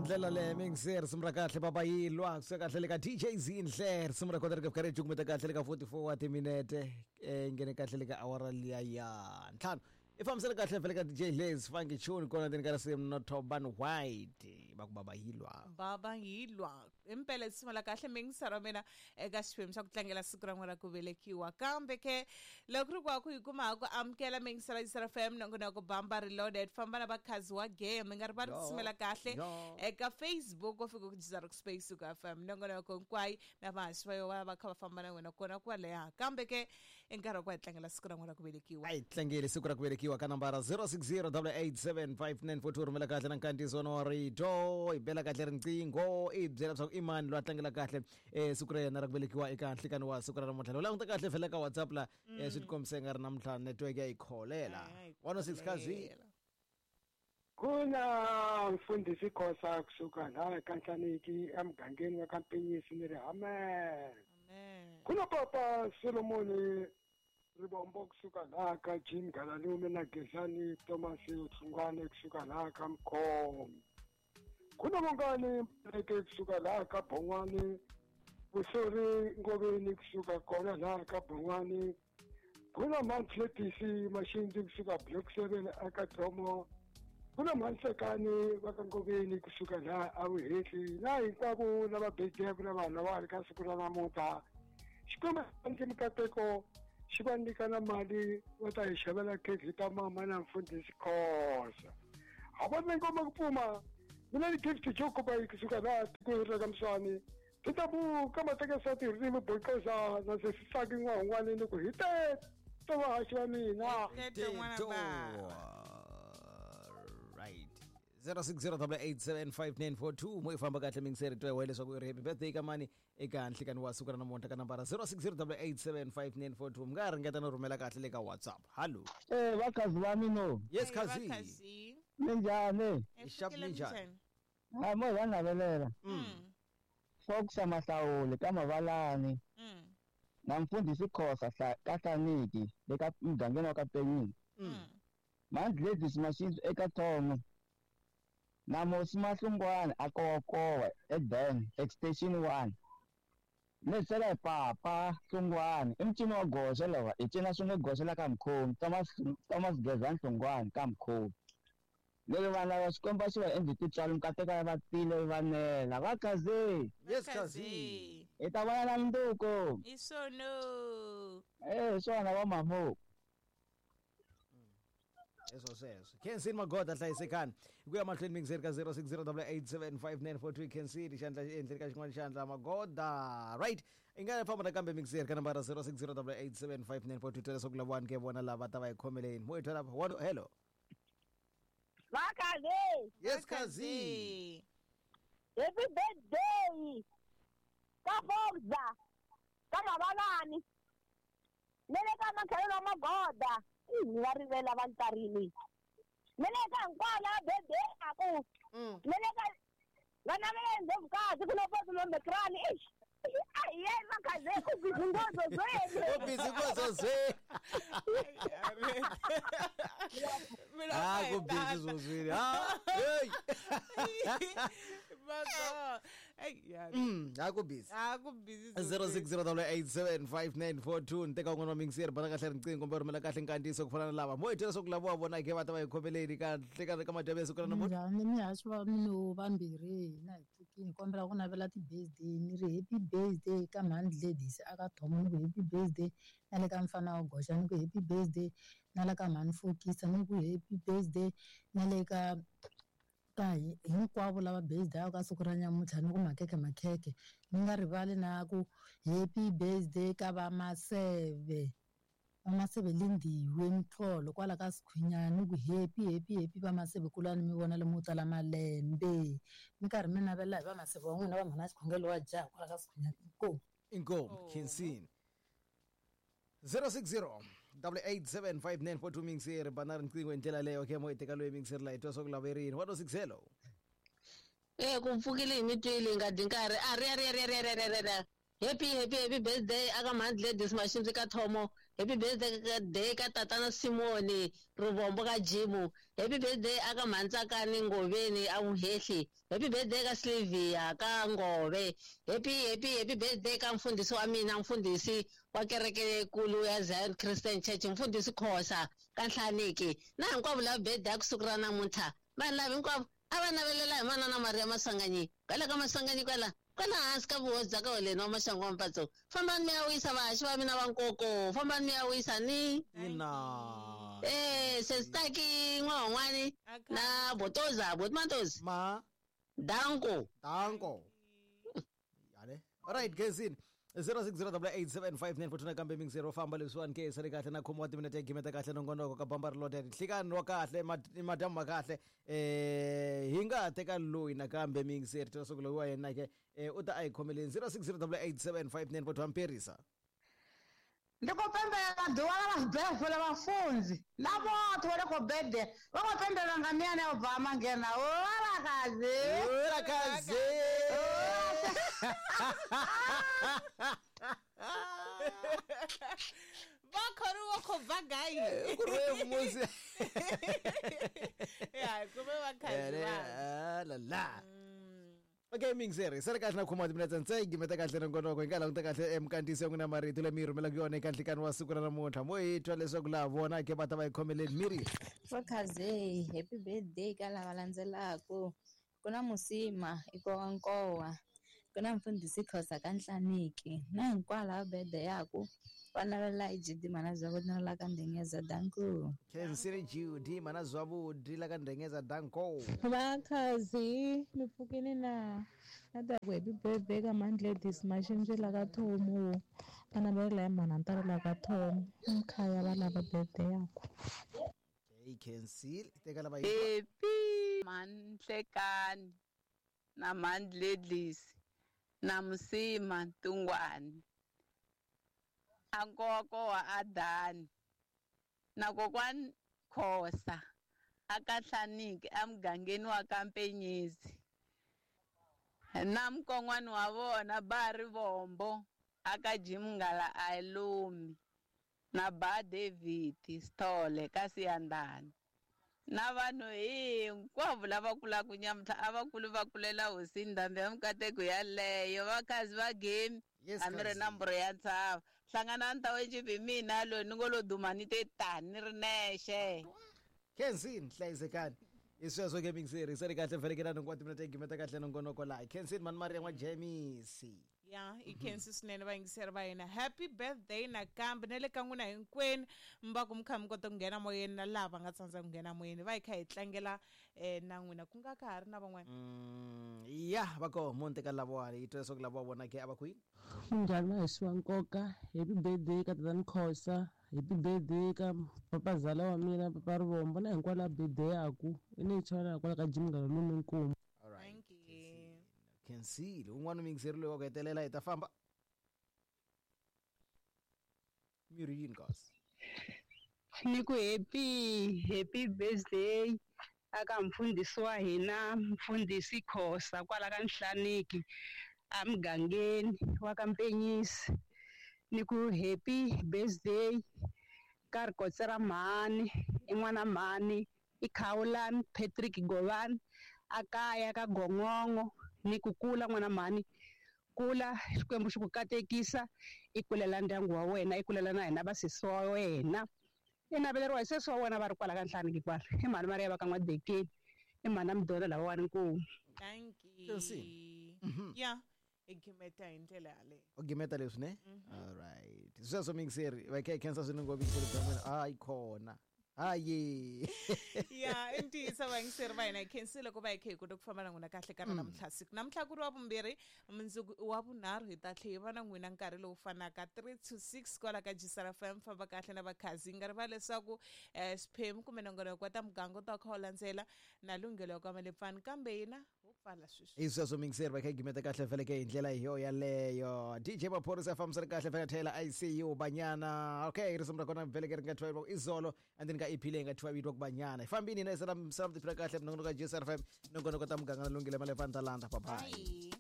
Ndlela leyo mingiseri risimu ra kahle baba yilwa kusuka kahle le ka DJ Zinhle, risimu ra kota ri ka ri cukumeta kahle le ka 44 wa timinete, nghene kahle le ka awara liya ya 5. I fambisele kahle vhele ka DJ Les Funky Tune kona ndzeni ka risimu no Toban White va ku baba yilwa. Baba yilwa impela risimu la kahle mingisero wa mina eka xiphemu xa ku tlangela siku ra n'wina ra ku velekiwa. Kambe ke loko ri ku hi kuma ku amukela mingisero ya FM nongonoko Bamba Reloaded, famba na vakhazi wa game, mi nga rivali ku simela kahle eka Facebook u fika ku jiza Rock Space ku FM nongonoko hinkwayo na vahaxi va yo va kha va famba na wena kona kwaleha. Kambe ke i nkarhi wa ku hi tlangela siku ra n'wina ra ku velekiwa. A hi tlangeli siku ra ku velekiwa ka nambara 0608875942, rhumela kahle na nkandziyiso wa rito, hi bela kahle riqingho, i byela leswaku i mani loyi a tlangela kahle siku ra yena ra ku velekiwa eka nhlikani wa siku ra namuntlha. Loko languta kahle vhele ka WhatsApp la, swi tikombisa nga ri namuntlha network ya yi kholela. 106 kazi. Kuna mfundhisi Khosa kusuka laha ka Nhlaniki emugangeni wa ka Mpinyisi ni ri amen. Kuna papa Solomoni Ribombo kusuka laha ka Jim Galalume na Gezani Thomas Hlungwane kusuka laha ka Mkhomi. Kuna Mongani Mleke kusuka laha ka Bongwani, Vusori Ngoveni kusuka kona laha ka Bongwani. Kuna Mantletisi Mashinzi kusuka Block 7 aka Thomo. Kuna Mhansekani va ka Ngoveni kusuka laha Avuhehli, na hinkwavo lava bejeke na vanhu lava ri ka siku ra namuntlha. Xikwembu ndzi mikateko xi va nyika na mali va ta hi xavela khekhe ta mama na mfundhisi Khosa. Ha va ngoma ku pfuma mina ni Gift Jokoba kusuka laha tikweni ra ka Mswani. Ti ta buka matekesati hi ririmi boxoza na sesisaki n'wahungwani ni ku hi teto vahaxi va mina. Right. 0608875942 mo ifamba kahle mingiseri twa leswaku i ri happy birthday ka mani eka nhlikani wa siku ra namuntlha ka nambara 0608875942. Mi nga ringeta no rhumela kahle le ka WhatsApp. Hallo. Vakazi va mina. Yes kazi. Minjhani? Xap minjhani? Ha mo va navelela. Fox Mahlawuli ka Mavalani. Na mfundhisi Khosa ka Hlaniki le ka mugangeni wa ka Penyini. Mandledies Mashinzi eka Thomo. Na Mosi Mahlungwane a Kowakowa eDen Extension 1. Lesela papa Hlungwane i mcino wa goxa lawa i cina swin'we goxa la ka Mkhomi Thomas Gezani Hlungwane ka Mkhomi. Lero vana va Xikwembu xi va endle titswalo nkateka va tile va nela va kaze. Yes kazi. I ta vona na mnduko. Isono. Swona va mamo. Eso sweswo. Kensin Magoda hlayisekani. Ku ya mahlweni mingiseri ka 0608875942 Kensin xandla endleni ka xin'wana xandla Magoda. Right. I nga famba nakambe mingiseri ka nambara 0608875942 twela leswaku lavawani ke vona lava ta va hi khomeleni. Mo hi twela lapha. Hello. Vakazi. Yes kazi. Happy birthday. Ka Fogza. Ka Mavalani. Nele ka Makhelo Magoda. Ni va rivela va ntarini. Nele ka hinkwala birthday aku. Nele ka vana va endle vukati ku na pasi lombe krani. Ai ye makaze ku busy ngozo zwe. Ku busy ngozo zwe. Ah ku busy zozwini. Ah hey. Baba. Ai ya. Aku busy. Aku busy. 0608875942 nteka un'wana wa mingiseri bana kahle riqingho kumbe rhumela kahle nkandziyiso ku fana na lava. Mo hi twela leswaku lava wa vona ke va ta va hi khomeleni kahle ka madyambu ya siku ra namuntlha. Njhani mihaxi va mina vambirhi hina hi pfukile kombela ku navela ti-birthday ni ri happy birthday ka Mhandledies aka Thomo ni ku happy birthday na le ka mfana wa goxa ni ku happy birthday na le ka Mhani Fokisa ni ku happy birthday na le ka hinkwavo lava birthday ka siku ra nyamuntlha ni ku makhekhe makhekhe ni nga rivali na ku happy birthday ka va Maseve. Vamaseve Lindiwe Mtholo kwala ka Sikhwinyana ni ku happy happy happy va Maseve kulani mi vona lomu tala malembe mi karhi mi navela hi va Maseve wa n'wina va mhana xikhongelo wa jaha kwala ka Sikhwinyana. Inkomu. Inkomu Kensini. 0608875942 mingiseri bana riqingho hi ndlela leyo ke mo hi teka loyi mingiseri la hi twa swa ku laverini. 106 hello. Ku pfukile hi mi twile nga dyi nkarhi a ri ri ri ri ri ri. Happy happy happy birthday aka Mhandledies Mashinzi ka Thomo. Happy birthday day ka tatana Simoni Rivombo ka Jimu. Happy birthday aka Mhantsakani Ngoveni a Vuhehli. Happy birthday ka Sylvia ka Ngove. Happy happy happy birthday ka mfundhisi wa mina, mfundhisi wa kereke leyikulu ya Zion Christian Church, mfundhisi Khosa ka Nhlaniki. Na hinkwavo lava birthday ya ku siku ra namuntlha, vanhu lava hinkwavo a va navelela hi manana Maria Maswanganyi kwala ka Maswanganyi kwala kwala hansi ka vuhosi bya ka Holeni wa Maxangu wa Mpatso. Fambani mi ya wisa vahaxi va mina va nkoko, fambani mi ya wisa ni Ina. Sesitaki N'wahon'wani na Botoza, Botmatozi. Ma. Danko. Danko. Yale. Alright, Kensini. 0608875942 nakambe mingisero famba leswiwani ke sale kahle na khomiwa timinete ya gimeta kahle nongonoko ka bamba rilode nhlikani wa kahle madyambu ma kahle hi nga teka loyi nakambe mingiseri twa siku loyi wa yena ke u ta a hi khomeleni 0608875942 amperisa. Ndi khou pembelela ḓuvha ḽa mabefo ḽa vhafunzi na vhoṱhe vho no khou bede vha khou pembelela nga miyani ya u bva mangena. Olakazi. Olakazi. Va khoriwa khou bva gai? Ku ri musi. Ya, kume vakhazi va. La la. Okay, mingiseri sale kahle na khoma timinetse ntse gimeta kahle nongonoko hi nga languta kahle emkantiso ya n'wina marito leyi mi yi rhumelaka yona eka nhlikani wa siku ra namuntlha mo hi twa leswaku laha vona ke va ta va yi khomeleni miri. Vakhaze, happy birthday ka lava landzelaka. Ku na Musima Ikowankowa, ku na mfundhisi Khosa ka Nhlaniki, na hinkwavo lava birthday yaku va navelela hi GD mana bya na la ka Ndengeza. Danko. Khensile GD mana zwavhudi la ka Ndengeza. Danko. Vakhazi mi pfukini na na ta ku happy birthday ka Mandledis Maxinji la ka Thomu, va navelela hi mhana Ntalo la ka Thomu, mkhaya va lava birthday yaku. Okay, Khensile teka lava Happy Manhlekani na Mandledis na Musima Ntungwani a nkoko wa Adani na kokwani Khosa a ka Nhlaniki emugangeni wa ka Mpenyezi na mukon'wana wa vona ba Rivombo a ka Jimngala a Lumi na ba David Sithole ka Siyandhani na vanhu hinkwavo lava kulaka nyamuntlha a va kuli va kulela hosini ndhambi ya mikateko yaleyo. Vakhazi va game Yes, a mi ri cousin. nomboro ya ntshava hlanganani ta wenjipi hi mina loyi ni ngo lo duma ni te tani ni ri nexe. Khensini hlayisekani hi sweswo ke mingiseri sale kahle vhelekela nhungu wa timinete ya gimeta kahle nongonoko laha Khensini mani Maria n'wa Jemisi. Ya, i khensi swinene vayingiseri va hina. Happy birthday nakambe na le ka n'wina hinkwenu mi va ku mi kha mi kota ku nghena moyeni na laha va nga tsandza ku nghena moyeni va hi kha hi tlangela na n'wina ku nga ka ha ri na van'wana. Ya va koho mo ni teka lavawani hi twa leswaku lava vona ke a va ku yini. Munghana wa hisi wa nkoka, happy birthday ka tatani Khosa, happy birthday ka papazala wa mina papa Rivombo na hinkwavo lava birthday yaku i ni chava kwala ka Jim Nghala Lume Nkomu. All right. Thank you. Khensile un'wana mingiseri loyi wa ku hetelela hi ta famba miri yini kasi. Ni ku happy happy birthday aka mfundhisi wa hina mfundhisi Khosa kwala ka Nhlaniki emugangeni wa ka Mpenyisi. Ni ku happy birthday ka Rikotse ra mhani i n'wana mhani i Khawulani Patrick Govani a kaya ka Gongongo. Ni ku kula n'wana mhani, kula Xikwembu xi ku katekisa, i kulela ndyangu wa wena, i kulela na hina vasesi wa wena, i naveleriwa hi sesi wa wena va ri kwala ka Nhlaniki kwala i mhani Mariya va ka N'wadekeni i mhani Mdolo lavawani nkomu. Thank you. Khensini. Ya, hi gimeta hi ndlela yaleyo. U gimeta leswi ne? All right. Sweswo mingiseri va kha hi khensa swinene ngopfu mingiseri bya n'wina. Hayi khona. Hayi. Ya, i ntiyiso vayingiseri va hina hi khensile ku va hi kha hi kota ku famba na n'wina kahle ka ra namuntlha siku namuntlha ku ri wa vumbirhi mundzuku i wa vunharhu hi ta tlhe hi va na n'wina nkarhi lowu fanaka 3 to 6 kwala ka Gisela FM. Famba kahle na vakhazi nga rivali leswaku xiphemu kumbe nongonoko wa ta muganga u ta kha u landzela na lunghelo ya kwamalepfani kambe hina ho pfala sweswi. Hi sweswo mingiseri va kha hi gimeta kahle feleke hi ndlela yo yaleyo. DJ Maphorisa fambisana kahle fela thela ICU Banyana. Okay, risimu ra kona veleke ri nga thyiwa izolo and then ka EP leyi nga thyiwa vito ku Banyana. Hi fambini na salam salam tiphila kahle nongonoko ka GSR FM nongonoko ta muganga na lunghelo malepfani ta landa. Bye bye. Bye.